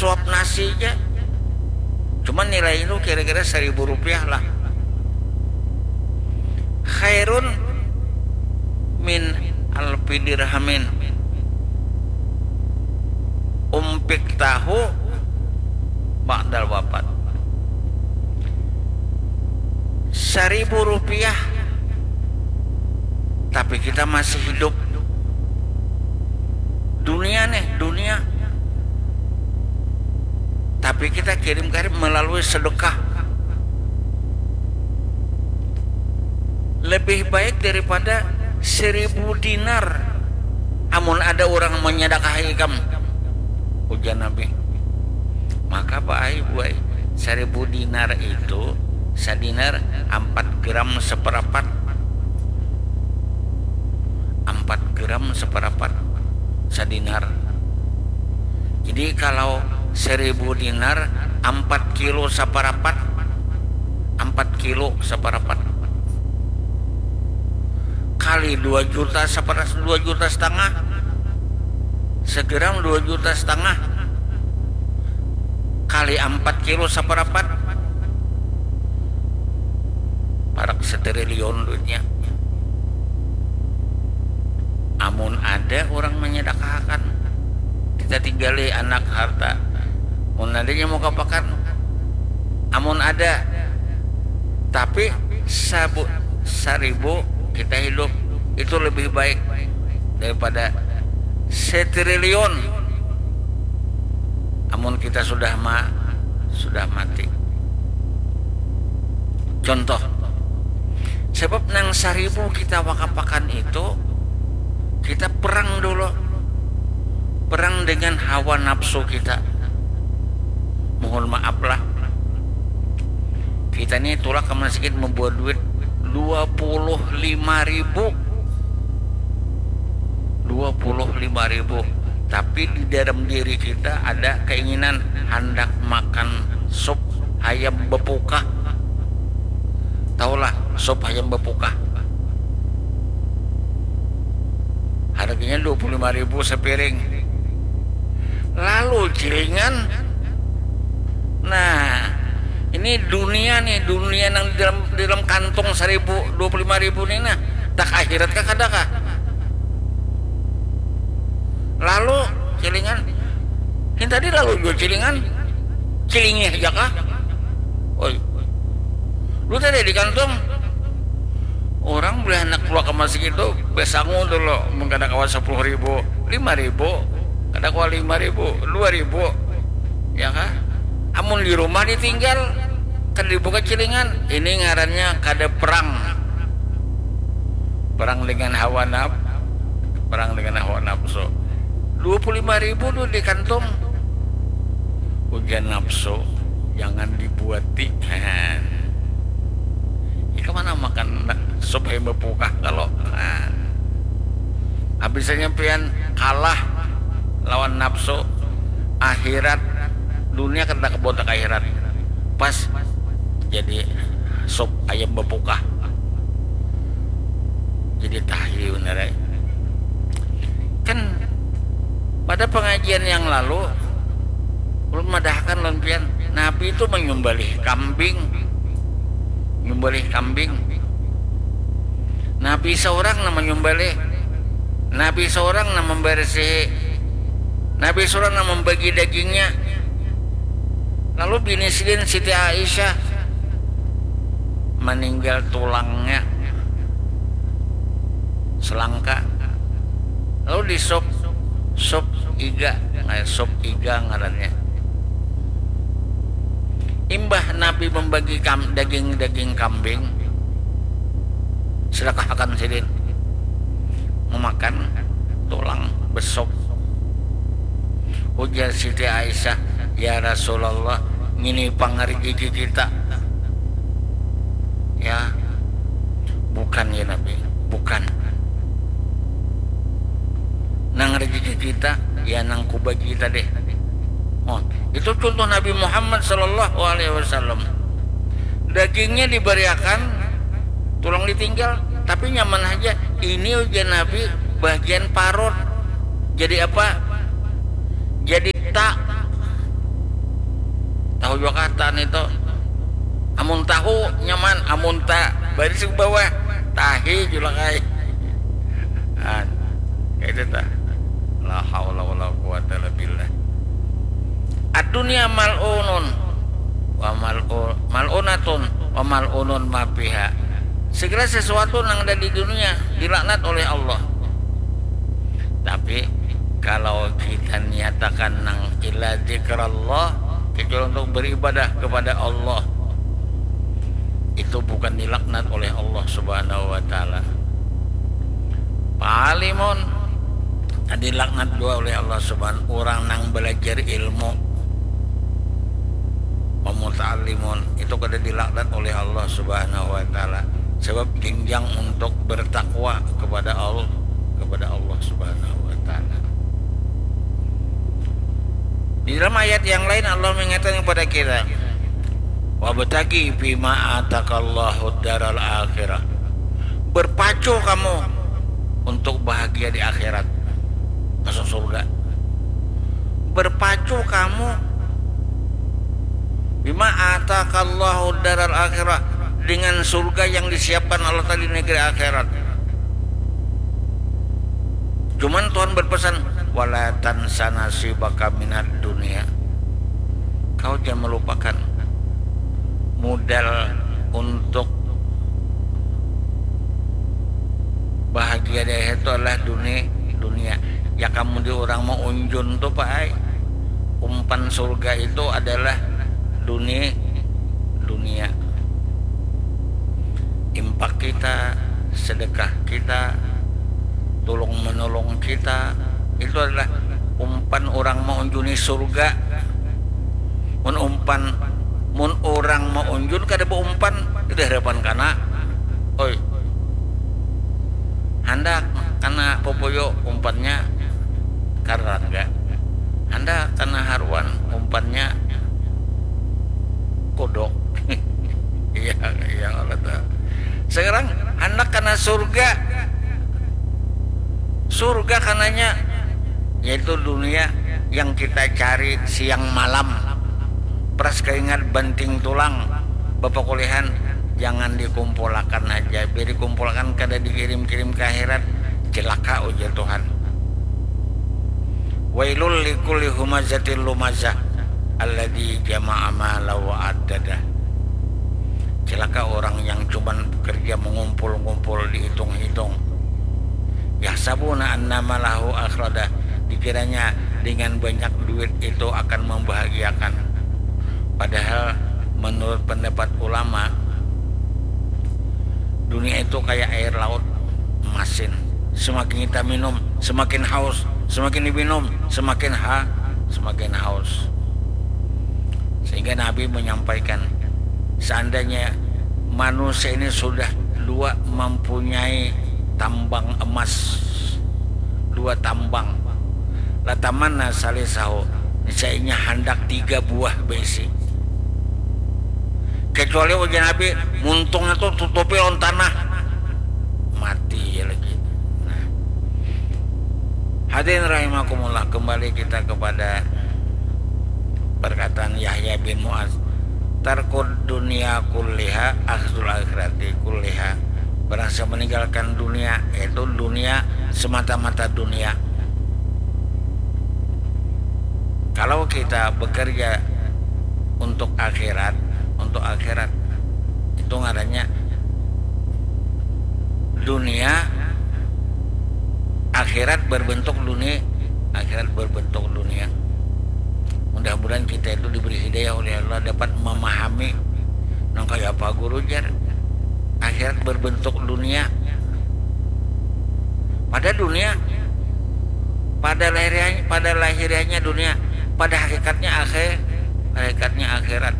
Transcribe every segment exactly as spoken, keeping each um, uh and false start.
sasuap nasi ja. Cuman nilai itu kira-kira seribu rupiah lah. Khairun min alfi dirhamin. Umpik tahu ba'dal wafat. Seribu rupiah, tapi kita masih hidup. Dunia nih, dunia. Tapi kita kirim-kirim melalui sedekah. Lebih baik daripada seribu dinar. Amun ada orang menyedekahi ikam, ujar Nabi. Maka, Pak ai, Bu ai, seribu dinar itu, sadinar empat gram seperapat. Empat gram seperapat sadinar. Jadi kalau seribu dinar, empat kilo seperapat. Empat kilo seperapat. Kali dua juta sepera-, dua juta setengah. Segram dua juta setengah. Kali empat kilo seperapat. Parak setriliun duitnya. Amun ada orang menyedekahakan, kita tinggali anak harta. Mun adanya mau kapakan, amun ada. Tapi sabu-, saribu kita hidup, itu lebih baik daripada setriliun amun kita sudah ma-, sudah mati. Contoh, sebab nang saribu kita wakapakan itu, kita perang dulu. Perang dengan hawa nafsu kita. Mohon maaf lah. Kita ni tulak ke masjid membawa duit dua puluh lima ribu. Dua puluh lima ribu. Tapi di dalam diri kita ada keinginan hendak makan sup ayam bepukah. Tahulah sup ayam bepukah? Harganya dua puluh lima ribu sepiring. Lalu cilingan, nah, ini dunia nih, dunia nang di dalam, di dalam kantong seribu, dua puluh lima ribu nih, nah, tak akhirat kah kada kah? Lalu cilingan, ini tadi lalu jua cilingan, cilingnya aja kah? Oi, lu tadi di kantong, orang boleh anak keluar ke masjid itu, besangu dulu, mun kada kawa sepuluh ribu, lima ribu, kada kawa lima ribu, dua ribu, ya kah? Amun di rumah ditinggal, kada dibuka cilingan, ini ngarannya kada perang. Perang dengan hawa naf-, perang dengan hawa nafsu. Dua puluh lima ribu tu di kantong. Ujar nafsu, jangan dibuati. Ika mana makan sup ayam bepukah kalau, habisnya pian kalah lawan nafsu, akhirat, dunia kada kabawa ka akhirat. Pas jadi sup ayam bepukah. Jadi tahi benar ai. Kan pada pengajian yang lalu, ulun madahkan lawan pian, Nabi itu menyembelih kambing. Menyembelih kambing. Nabi seorang nang menyembelih. Nabi seorang nang membersihi. Nabi seorang nang membagi dagingnya. Lalu bini sidin Siti Aisyah meninggal tulangnya selangka. Lalu di sup, sup iga, nah, sup iga ngarannya. Imbah Nabi membagi kam-, daging-daging kambing, sedekahakan sidin, memakan tulang besok. Ujar Siti Aisyah, "Ya Rasulullah, ngini pang rezeki kita." Ya, bukan ya Nabi, bukan. Nang rezeki kita, ya nang kubagi tadi. Oh, itu contoh Nabi Muhammad sallallahu alaihi wasallam. Dagingnya dibariakan, tulang ditinggal, tapi nyaman aja. Ini ujian Nabi bagian parut. Jadi apa? Jadi tak. Jua kata nitu. Amun tahu nyaman, amun ta baris ke bawah, tahi jua lah ai. An, kaitu tah. La haula wala quwata illa billah. Ad-dunya mal'unun wa mal'u-, mal'unatun wa mal'unun ma fiha. Segala sesuatu nang ada di dunia dilaknat oleh Allah. Tapi kalau kita niatakan nang illa dzikrallah, kecuali untuk beribadah kepada Allah, itu bukan dilaknat oleh Allah Subhanahu wa taala. Palimon dilaknat jua oleh Allah Subhanahu, urang nang belajar ilmu, wa muta'allimun, itu kada dilaknat oleh Allah Subhanahu wa taala, sebab jenjang untuk bertakwa kepada Allah, kepada Allah Subhanahu wa taala. Di dalam ayat yang lain Allah mengingatkan kepada kita, wabtaghi fima atakallahu daral akhirah. Berpacu kamu untuk bahagia di akhirat, masuk surga. Berpacu kamu bima atakallahu daral akhirah, dengan surga yang disiapkan Allah Ta'ala di negeri akhirat. Cuman Tuhan berpesan, wala tansa nasibaka minad dunia. Kau jangan melupakan modal untuk bahagia di akhirat itu adalah dunia, dunia. Ya kamu di urang maunjun tu, Pak ai. Umpan surga itu adalah dunia, dunia. Impak kita, sedekah kita, tulung menolong kita, itu adalah umpan urang maunjuni surga. Mun umpan, mun urang maunjun kada baumpan, itu harapan kana. Oi. Handak kana pupuyu, umpannya karangga. Handak kana haruan, umpannya kodok. Iya, iya, Allah tahu. Sekarang handak kana surga. Surga kananya, yaitu dunia yang kita cari siang malam. Peras keringat banting tulang, bapakulihan, jangan dikumpulakan haja. Biar dikumpulakan kada dikirim-kirim ke akhirat, cilaka, ujar Tuhan. Wailul likulli humazatil lumazah alladzi jama'a mala wa addadah. Cilaka orang yang cuman kerja mengumpul-ngumpul, dihitung-hitung. Yahsabuna anna malahu akhradah, dikiranya dengan banyak duit itu akan membahagiakan. Padahal menurut pendapat ulama, dunia itu kayak air laut, masin. Semakin kita minum, semakin haus, semakin diminum, semakin ha-, semakin haus. Sehingga Nabi menyampaikan, seandainya manusia ini sudah dua mempunyai tambang emas, dua tambang, latamanna salisahu, niscayanya handak tiga buah baisi. Kecuali ujar Nabi, muntungnya tu tutupi lawan tanah, mati ya lagi. Nah. Hadirin rahimakumullah, kembali kita kepada perkataan Yahya bin Mu'az, tarkud dunia kulliha akhzul akhirati kulliha. Barang siapa meninggalkan dunia, yaitu dunia, semata-mata dunia. Kalau kita bekerja untuk akhirat, untuk akhirat, itu ngarannya dunia, akhirat berbentuk dunia, akhirat berbentuk dunia. Mudah-mudahan kita itu diberi hidayah oleh Allah, dapat memahami nang kaya apa guru jar. Akhirat berbentuk dunia. Pada dunia, pada lahiriahnya, pada lahiriahnya dunia, pada hakikatnya akhir, hakikatnya akhirat.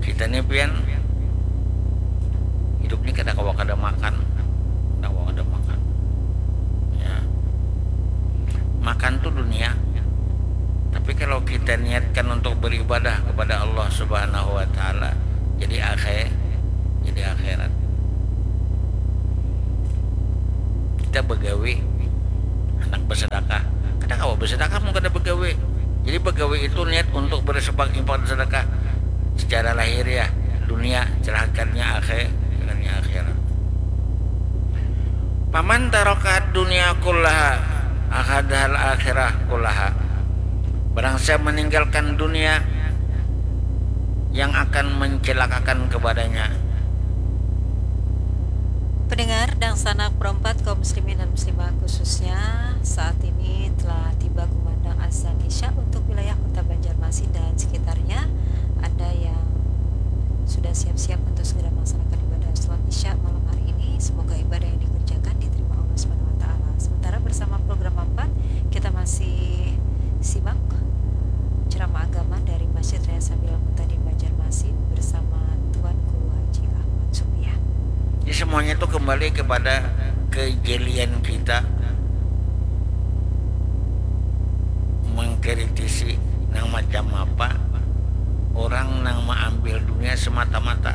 Kita ni pian hidup ni kada kawa kada makan, kada kawa kada makan. Ya. Makan tu dunia. Tapi kalau kita niatkan untuk beribadah kepada Allah Subhanahu wa taala, jadi akhir, jadi akhirat. Kita begawi, handak bersedekah. Kada kawa bersedekah mun kada begawi. Jadi bagawi itu niat untuk bersepak infak dan sedekah secara lahiriah, dunia, celakanya akhir, celakanya akhirat. Paman tarokat dunia kullaha akhadhal akhirah kullaha. Barang siapa meninggalkan dunia yang akan mencelakakan kepadanya. Pendengar dan sanak perempat kaum muslimin dan muslimah khususnya, saat ini telah tiba kumandang azan Isya untuk wilayah Kota Banjarmasin dan sekitarnya. Ada yang sudah siap-siap untuk segera melaksanakan ibadah sholat Isya malam hari ini. Semoga ibadah yang dikerjakan diterima Allah Subhanahu wa taala. Sementara bersama program empat, kita masih simak ceramah agama dari Masjid Raya Sabilal Muhtadin Banjarmasin bersama Tuan Guru Haji Ahmad Supiah. Jadi semuanya itu kembali kepada kejelian kita mengkritisi nang macam apa orang nang maambil dunia semata-mata.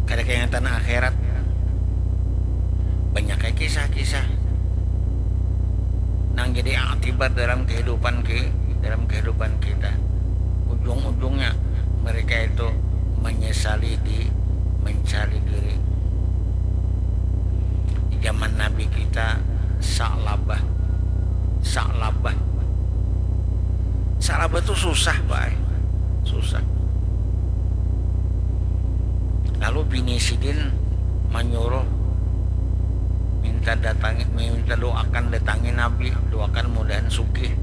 Kada kaingatan akhirat. Banyak ai kisah-kisah nang jadi akibat dalam kehidupan ki, dalam kehidupan kita. Ujung-ujungnya mereka itu menyesali di, mencari diri. Di zaman Nabi kita, Sa'labah. Sa'labah. Sa'labah tu susah, Pak. Susah. Lalu bini sidin manyuruh minta datangi, minta doakan datangi Nabi, doakan mudahan sugih.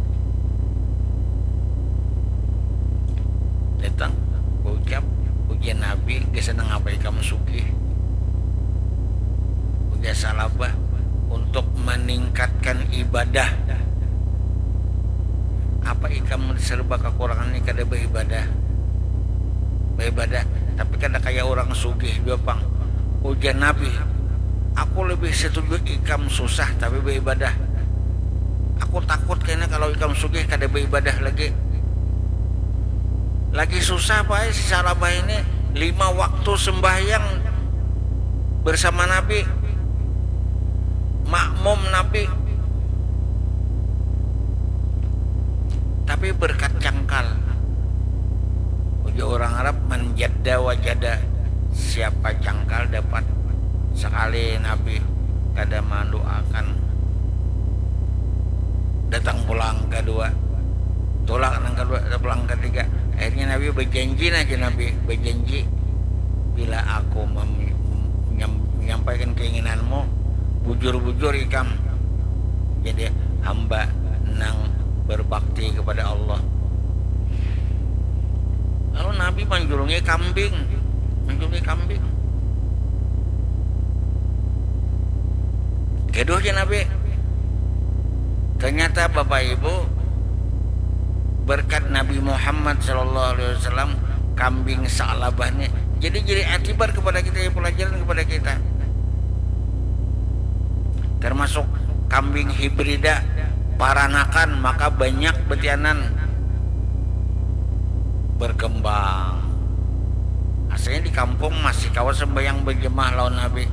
Datang, ucap, ujar Nabi, gasan nangapa ikam sugih? Ujar Sa'labah, untuk meningkatkan ibadah. Apa ikam serba kekurangan ni kada beribadah? Beribadah, tapi kada kaya orang sugih jua pang. Ujar Nabi, aku lebih setuju ikam susah tapi beribadah. Aku takut kena kalau ikam sugih kada beribadah lagi. Lagi susah bae si Sa'labah ini, lima waktu sembahyang bersama Nabi, makmum Nabi, tapi berkat cangkal. Ujar orang Arab, man jadda wajada, siapa cangkal dapat. Sekali Nabi kada mendoakan, datang pulang kedua, tolak nang kedua, pulang ketiga. Akhirnya Nabi berjanji, naja Nabi berjanji, bila aku menyampaikan keinginanmu, bujur-bujur ikam jadi hamba nang berbakti kepada Allah. Lalu Nabi manjulungi kambing, manjulungi kambing. Gaduh ja Nabi. Ternyata Bapak Ibu, berkat Nabi Muhammad sallallahu alaihi wasallam, kambing Sa'labah ni jadi jadi atibar kepada kita, ya, pelajaran kepada kita. Termasuk kambing hibrida, paranakan, maka banyak betianan berkembang. Asalnya di kampung masih kawa sembahyang berjemaah lawan Nabi.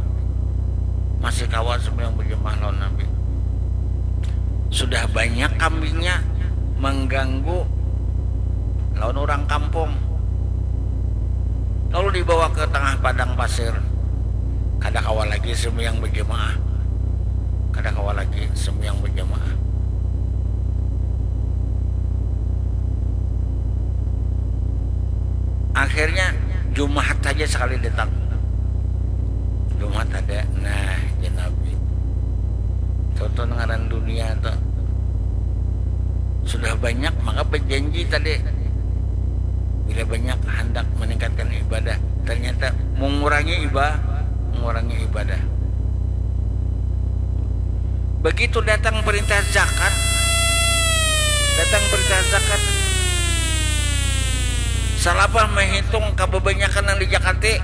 Masih kawa sembahyang berjemaah lawan Nabi. Sudah banyak kambingnya mengganggu lawan orang kampung. Lalu dibawa ke tengah padang pasir. Kada kawa lagi sembahyang berjemaah. Kada kawa lagi sembahyang berjemaah. Akhirnya Jumat saja sekali datang. Jumat ada, nah, jar Nabi. Tuh, tuh ngaran dunia tuh. Sudah banyak, maka berjanji tadi. Bila banyak hendak meningkatkan ibadah, ternyata mengurangi ibadah, mengurangi ibadah. Begitu datang perintah zakat, datang perintah zakat, Sa'labah menghitung kebanyakan yang dijakati,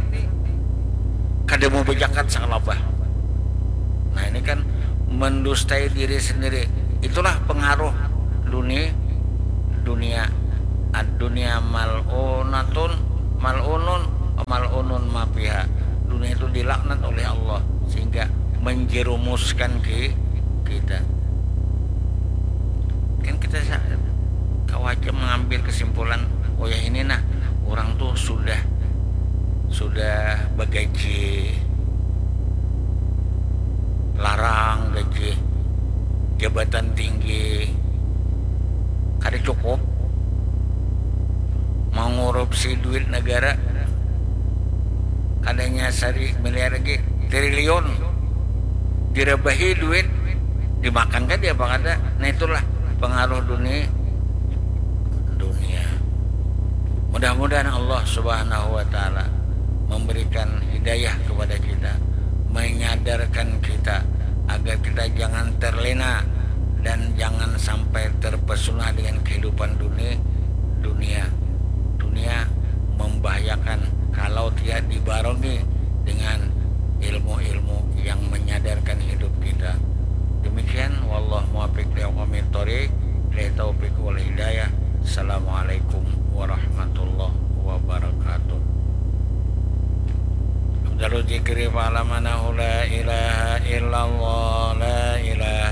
kada mau berjakat Sa'labah. Nah, ini kan mendustai diri sendiri. Itulah pengaruh dunia, dunia, ad-dunia mal'unatun, mal'unun, mal'unun mafiha. Dunia itu dilaknat oleh menjerumuskan ke kita. Kan kita sa- kawa aja mengambil kesimpulan, oh ya ini nah, orang tuh sudah sudah bagaji larang, gaji jabatan tinggi, kada cukup mengurupsi duit negara, kadanya sari miliar lagi, triliun, direbahi duit, dimakan kan dia apa kada. Nah, itulah pengaruh dunia. Dunia. Mudah-mudahan Allah Subhanahu wa Ta'ala memberikan hidayah kepada kita, menyadarkan kita agar kita jangan terlena dan jangan sampai terpesona dengan kehidupan dunia. Dunia, dunia membahayakan kalau tidak dibarengi dengan ilmu-ilmu yang menyadarkan hidup kita. Demikian, wallahu muwaffiq li aqwamit thoriq, billahi taufiq wal hidayah. Assalamualaikum warahmatullahi wabarakatuh. Afdalu dzikri fa'lam annahu la ilaha illallah, la ilaha